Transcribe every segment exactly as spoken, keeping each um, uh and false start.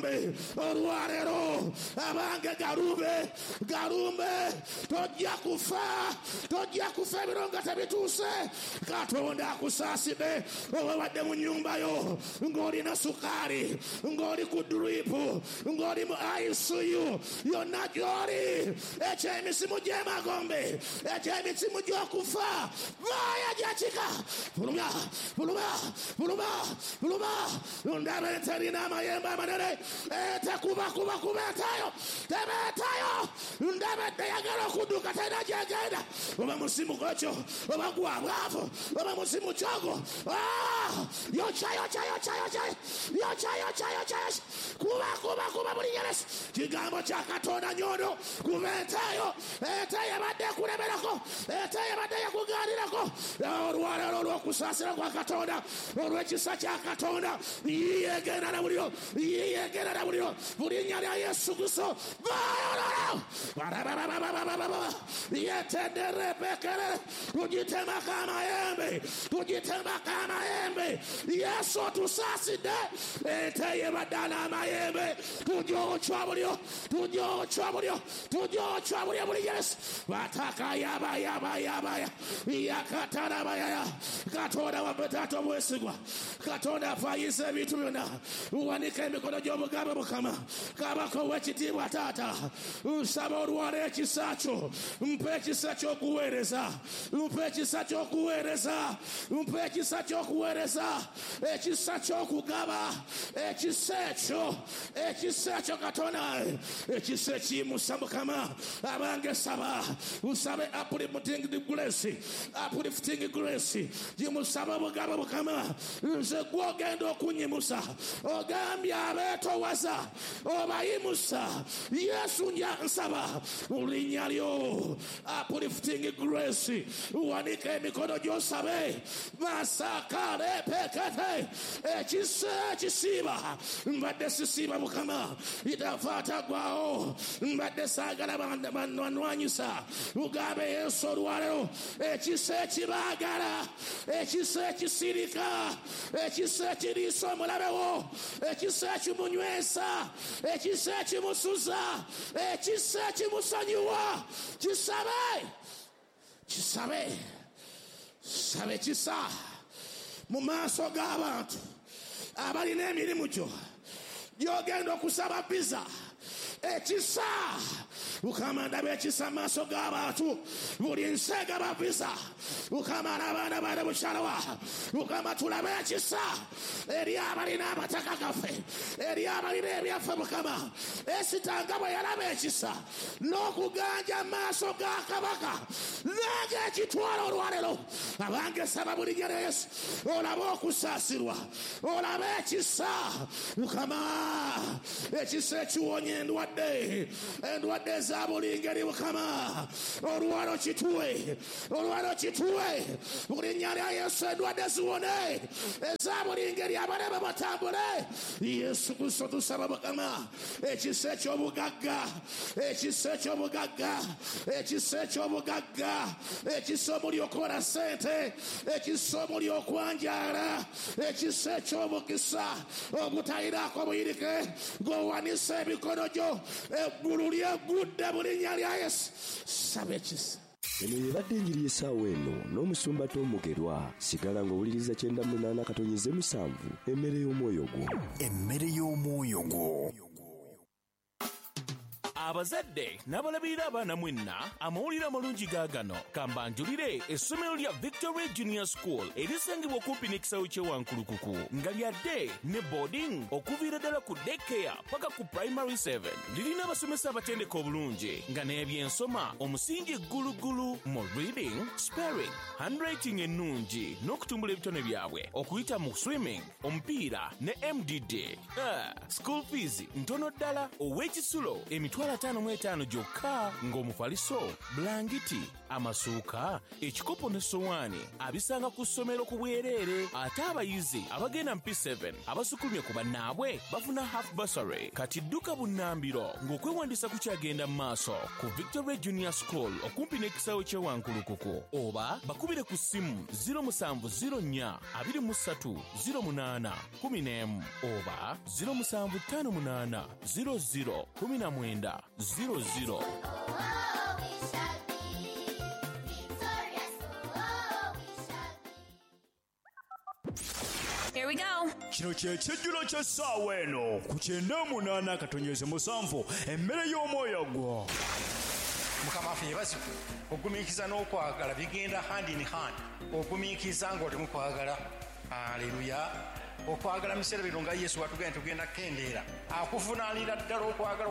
gy'emagombe olwaleero. Abange galumbe, galumbe, tojja kufa, tojja kufa ebiro nga tebituuse. Katonda akusaasidde. Oba wadde mu nnyumba yo ng'olina sukaali, ng'oli ku duripu, ng'oli mu I C U, yonna gy'oli, eky'emisimu gy'emagombe, eky'emisimu gy'okufa, vaaya gyakika. Fuluma, fuluma, fuluma, fuluma. Ndaba enterina amayembe amanene, etekubakubakuba etayo, tebeetayo. Ndaba eyagala okudduka terina gy'egenda. Oba musimu gwekyo, oba gwa bwavu, oba musimu kyogo. Ah! Yokya, yokya, yokya, yokya, yokya, yokya, yokya, yokya. Kuba, kuba, kuba buli Yesu. Kigambo kya Katonda nyondo. Kuba entayo, entayo ebadde ekulemerako, entayo ebadde ekugaanirako. Olwaleero olw'okusaasira kwa Katonda, olw'ekisa kya Katonda, yegenda na buliro, yegenda na buliro. Buli linnya lya Yesu Kristo. Vaayo olwaleero. Yetenderepekere. Tugitemako amayembe, tugitemako amayembe. Yesu otusaasidde. Ente ebadde n'amayembe, tugyokya buliro, tugyokya buliro, tugyokya buliro buli Yesu. Bataka yaba yaba yaba yakatarabayaya. Katonda waffe taata omwesigwa, Katonda afaayisa ebintu byonna. Wanika emikono gy'obugambe Mukama, Kabaka ow'ekitiibwa taata, nsaba olwala ekisa kyo, mpa ekisa ky'okuweereza, mpa ekisa ky'okuweereza, mpa ekisa ky'okuweereza, ekisa ky'okugaba, ekisa ekyo, ekisa ekyo Katonda, ekisa ekiyimusa Mukama. Abange saba, nsabe uplifting grace, uplifting grace, gimusaba bugaba Mukama. Nze gw'ogenda okunyimusa, ogambye abeetowaza obayimusa. Yesu nja nsaba mu linnya lyo, uplifting grace. Wanika emikono gy'osabe, masakalepekete. Ekisa ekisiiba, mbadde sisiiba Mukama, itafaatagwawo, mbadde saagala banwanyisa. Ugambe Yesu olwaleero, ekisa ekibaagala, ekisa ekisirika, ekisa ekiriisa omulabe wo, ekisa ekimunywesa, ekisa ekimusuza, ekisa ekimusonyiwa. Kisabe, kisabe, sabe kisa mu maaso g'abantu abalina emirimu gyo gy'ogenda okusaba visa. Ekisa Mukama, ndaba ekisa mu maaso g'abantu, buli nsi egaba visa. Mukama, n'abaana baana bukyalawa. Mukama, tulabe ekisa eri abalina amataka gaffe, eri abalina ebyaffe Mukama. Esita nga bwe yalaba ekisa n'okuganja mu maaso ga kabaka, nange ekitwala olwaleero. Abange saba buli linnya lya Yesu, olabe okusaasirwa, olabe ekisa Mukama, ekisa ekiwonya endwadde, endwadde eza buli ngeri Mukama. Olwalo kituwe, olwalo kituwe buli linnya lya Yesu, endwadde ziwone eza buli ngeri, abalema batambule. Yesu Kristo tusaba Mukama, ekisa eky'obugagga, ekisa eky'obugagga, ekisa eky'obugagga, ekisa omuli okukola ssente, ekisa omuli okwanjaala, ekisa eky'omukisa ogutalinaako buyirike. Ng'owanisa emikono gyo, eggulu lyeggudde mu linnya lya Yesu. Saba ekisa. Eno yebadde enjiri y'essaawa eno n'omusumba Tom Mugerwa. Sigala ng'owuliriza kyenda munaana katonyeze musanvu, emmere y'omwoyo gwo. Emmere y'omwoyo gwo. Abazadde n'abalabirira abaana mwenna, amawulire amalungi gaagano. Kambanjulire essomero lya Victory Junior School erisangibwa okumpi n'ekisaawe ky'e Wankulukuku, nga lya day ne boarding okuviira ddala ku daycare paka ku primary seven. Lirina abasomesa abatendeka obulungi nga n'ebyensoma omusingi ggulugulu mu reading, spelling, handwriting ennungi n'okutumbula ebitone byabwe okuyita mu swimming, omupiira ne M D D. Ah, school fees ntono ddala, ow'ekisulo emitwalo ataano mu etaano gyokka, ng'omufaliso, bulangiti Amasuuka, ekikopo n'essowaani abisanga ku ssomero ku bwereere. Ate abayizi abagenda mu P seven abasukulumye ku bannaabwe bafuna half bursary. Kati dduka bunnambiro ng'okwewandiisa kukyagenda mu maaso ku Victory Junior School okumpi n'ekisaawe ky'e Wankulukuku, oba bakubire ku ssimu zero musanvu zero nnya abiri mu ssatu zero munaana kumi n'emu oba zero musanvu ttaano munaana zero zero kumi na mwenda zero zero. Here we go. Kino kye kijjulo ky'essaawa eno ku kyenda munaana akatonyeze musanvu emmere y'omwoyo gwo. Mukama waffe yeebazibwe. Ogumiikiriza n'okwagala bigenda hand in hand. Ogumiikiriza ng'oli mu kwagala. Haleluya. Okwagala mu biseera bino nga Yesu watugenda tugenda kukendeera. Akuvunaanira ddala okwagala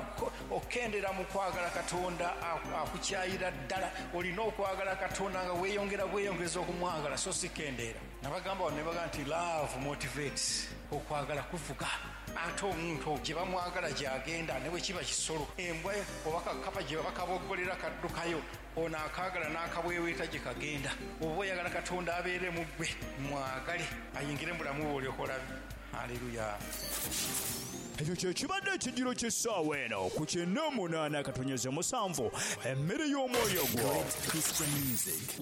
okukendeera mu kwagala Katonda akukyayira ddala. Olina okwagala Katonda nga weeyongera bweyongeza okumwagala so si kendeera. Nabagamba wano ne bagamba nti love motivates. Okwagala kuvuga. Ate omuntu gye bamwagala gy'agenda ne bwe kiba kisolo, embwa oba kakapa gye bakaboggolera kaddukayo, ono akaagala n'akabweweeta gye kagenda. Oba oyagala Katonda abeere mu ggwe, mwagale ayingire mu bulamu bwo olyoke olabe. Haleluya. Ekyo kye kibadde ekijjulo ky'essaawa eno ku kyenda munaana akatonyeze musanvu emmere y'omwoyo gwo. Christian music.